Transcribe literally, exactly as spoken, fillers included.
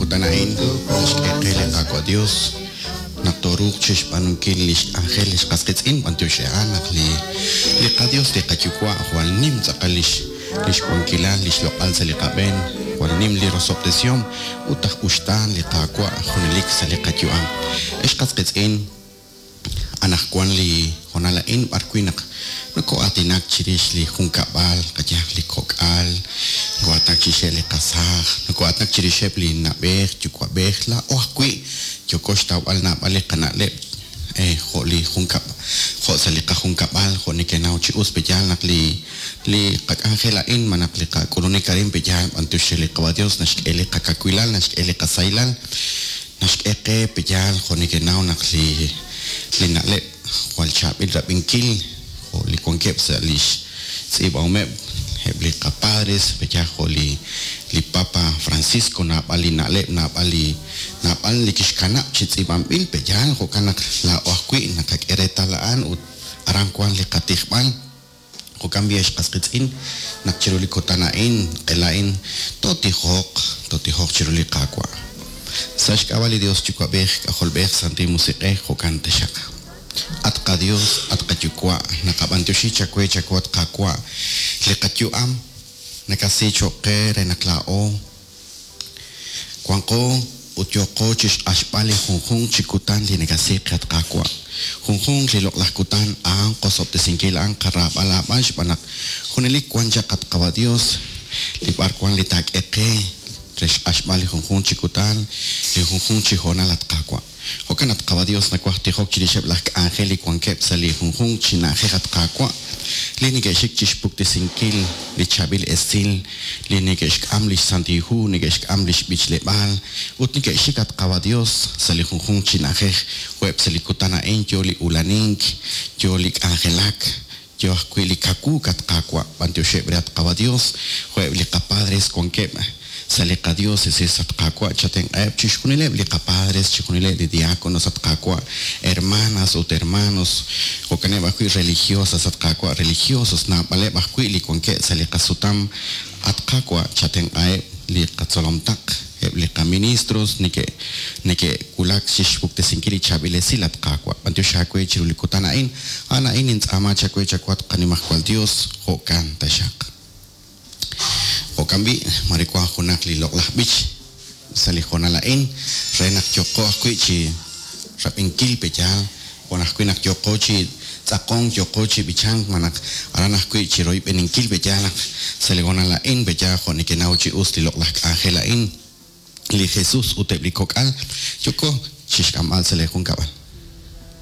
kutan a'in naxk'e qe li Qaawa' Dios naq tooruuq chixb'aanunkil lix k'anjel lix qas qiitz'in b'antiox a'an naq li li qaDios li qayuwa' jwal nim tz'aqal lix lix wankilal lix loq'al sa' li qab'een jwal nim li rosob'tesihom ut aj uxtaan li Qaawa' junelik sa' li qayu'am. Ex qas qiitz'in anaqwan li hoonal a'in b'ar wi' naq noko'aatinak chirix li junkab'al qayaj li kok'al noko'aatinak chirixeb' li qasaaj noko'aatinak chirixeb' li na'b'ej yuwa'b'ej laa'o ajwi' yooko xtawb'al naab'al li qana'leb' jo' li junkab' jo' sa' li qajunkab'al jo' nekenaw chi us pe'yaal naq li li qak'anjel a'in malaj li qak'ulunik arin pe'yaal b'antiox re li Qawa' Dios naxk'e li qakawilal naxk'e li qasahilal naxk'e qe pe'yaal jo' nekenaw naq li li na'leb' jwal chaab'il rab'inkil jo' li wankeb' sa' lix tz'iib'ahomeb' eb' li qapadres pe'yaal jo' li li Papa Francisco naab'al li na'leb' naab'al li naab'al li kixkanab' chi tz'iib'anb'il pe'yaal jo'kan naq laa'o ajwi' naqak'e reetal a'an ut aran wan li qatijb'al jo'kan b'i ex qas qiitz'in naq chiru li kutan a'in q'ela a'in tootijoq tootijoq chiru li Qaawa' sa' xk'ab'a' li Dios Yuwa'b'ej K'ajolb'ej Santil Musiq'ej jo'kan taxaq. At qaDios, at qayuwa', naqab'antioxi chawe chawe at Qaawa' li qayu'am nakasi cho'q qe re naq laa'o wanqo ut yooqo chixq'axb'al li junjunq chi kutan li nakasi qe at Qaawa' junjunq li loq'laj kutan a'an qosob'tesinkil a'an qaraab'al aab'al xb'aan naq junelik wan chaq at Qawa' Dios li b'ar wan li taak'e qe re xq'axb'al li junjunq chi kutan li junjunq chi hoonal at Qaawa' jo'kan at Qawa' Dios nawaj tijok chirixeb' laj k'anjel li wankeb' sa' li junjunq chi na'ajej at Qaawa' li neke'xik chixpuktesinkil li chaab'il esil li neke'xk'am lix Santil Hu neke'xk'am lix b'ichleb'aal ut neke'xik at Qawa' Dios sa' li junjunq chi na'ajej jo'eb' sa' li kutan a'in yo li ulanink yo li k'anjelak yo ajwi' li kawuuk at Qaawa' b'antioxeb' re at Qawa' Dios jo'eb' li qapadres wankeb' sa' li qadiócesis at Qaawa' chatenq'aheb' chixjunileb' li qapadres chixjunileb' li diáconos at Qaawa' hermanas ut hermanos jo'kaneb' ajwi' religiosas at Qaawa' religiosos naab'aleb' ajwi' li wankeb' sa' li qasutam at Qaawa' chatenq'aheb' li qatzolomtaq eb' li qaministros neke' neke'wulak chixpuktesinkil li chaab'il esil at Qaawa' b'antiox aawe chiru li kutan a'in a'an a'in nintz'aama chawe chawe at qanimajwal Dios jo'kan taxaq. Jo'kan b'i' mare wan junaq li loq'laj b'ich sa' li hoonal a'in re naq yooqo ajwi' chi rab'inkil pe'yaal wan ajwi' naq yooqo chi tz'aqonk yooqo chi b'ichank malaj aran ajwi' chi royb'eninkil pe'yaal naq sa' li hoonal a'in pe'yaal jo' nekenaw chi us li loq'laj k'anjel a'in li Jesus ut eb' li kok'al yoko chixk'amb'al sa' li junkab'al.